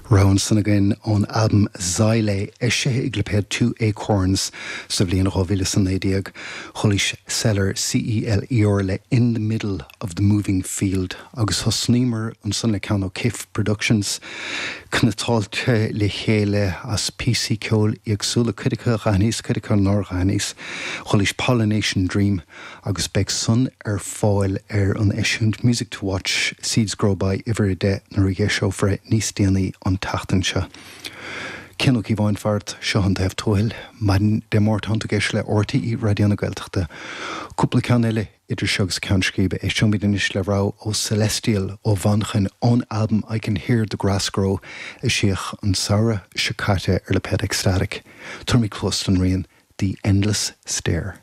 Rogha ansan againn ón albam Xylé, eisithe ag lipéad Two Acorns sa bhliain 2019. Chualaís Celer, C-E-L-E-R, le In the Middle of the Moving Field agus thosnaíomar ansan le ceann ó Kif Productions, cniotáilte le chéile as píosaí ceoil éagsúla, cuid acu a dh'aithníos, cuid acu nár dh'aithníos. Chualaís Pollination Dream. agus beidh san ar fáil ar an eisiúint Music to Watch, Seeds Grow By uimhir 10 nuair a dh'eiseofar é níos déanaí an tseachtain seo. Cian Ó Cíobháin faraibh, seo An Taobh Tuathail, maidin Dé Máirt tánn tú ag éisteacht le RTÉ Raidió na Gaeltachta. Cúpla ceann eile idir seo agus Ceann Scríbe. Éisteoimid anois le rogha ó Celestial ó Mhanchain ón albam I Can Hear the Grass Grow eisíodh an samhradh seo caite ar lipéad Ecstatic. Tabharfaimid cluas don rian The Endless Stair.